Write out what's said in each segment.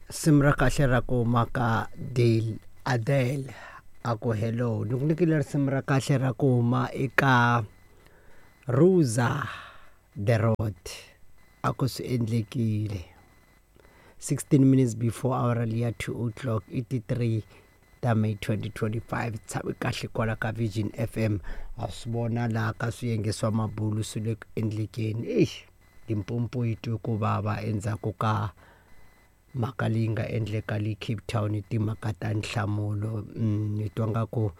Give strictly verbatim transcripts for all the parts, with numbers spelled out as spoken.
Risimu ra kahle ra ku huma ka Dale Adele a ku hello ni ku nyikile risimu ra kahle ra ku huma eka Rosa the Road a ku swi endlekile sixteen minutes before hour liya two o'clock i ti three ta May twenty twenty-five tshami kahle kwala ka Vision F M. Ha swi vona laha ka swiyenge swa mabulu swi le ku endlekeni. Eish, Limpopo yi twe ku vava endzhaku ka mhaka leyi nga endleka le Cape Town, timhaka ta nhlamulo. Ni twa nga ku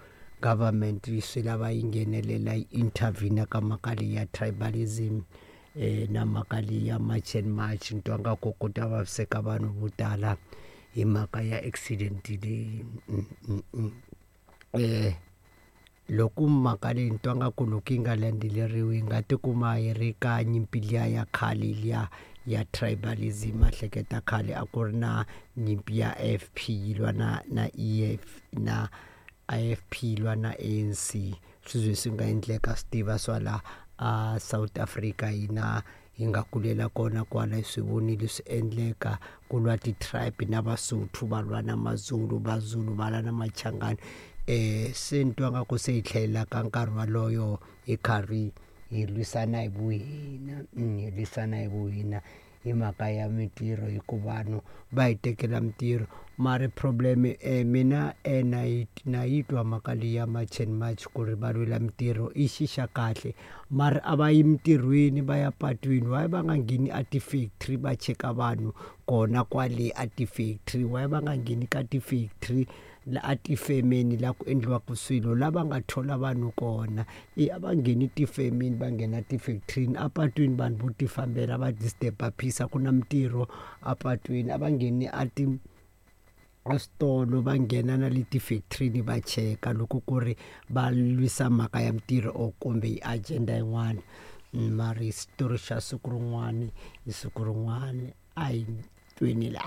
government yi swi lava yi nghenelela, yi intervene ka mhaka leyi ya tribalism eh na mhaka leyi ya March and March. Ni twa nga ku ku ta vaviseka vanhu vo tala hi mhaka ya accident leyi. mm, mm, mm. eh loko mhaka leyi ni twa nga ku loko yi nga landzeleriwi, yi nga tikuma yi ri ka nyimpi liya ya khale liya ya tribalism. Hleketa khale a ku ri na nyimpi ya I F P yi lwa na na E F na I F P yi lwa na A N C. Swi ze swi nga endleka swi tiva swa la a South Africa, hina hi nga kulela kona kwala, hi swi vonile swi endleka ku lwa ti-tribe, na Vasotho va lwa na Mazulu, Vazulu va lwa na Machangani. eh se ni twa nga ku se hi tlhelela ka nkarhi waloyo, hi karhi hi lwisana hi vuhina, hi lwisana hi vuhina hi mhaka ya mintirho, hikuva vanhu va hi tekela mintirho. Mara problem, eh mina eh na yi na yi twa mhaka leyi ya March and March ku ri va lwela mintirho, i xi xa kahle, mara a va yi mintirhweni, va ya patwini. Why va nga ngheni a ti-factory va cheka vanhu kona kwale a ti-factory? Why va nga ngheni ka ti-factory, la a tifemeni la ku endliwaka swilo, la va nga thola vanhu kona? I a va ngheni tifemeni, va nghena tifekithirini. Apatwini vanhu vo ti fambela va disturb peace, a ku na mintirho apatwini. A va ngheni a ti eswitolo, va nghena na le tifekithirini, va cheka loko ku ri va lwisa mhaka ya mintirho or kumbe i agenda yin'wana. Mara xitori xa siku rin'wani, hi siku rin'wani a hi tweni la.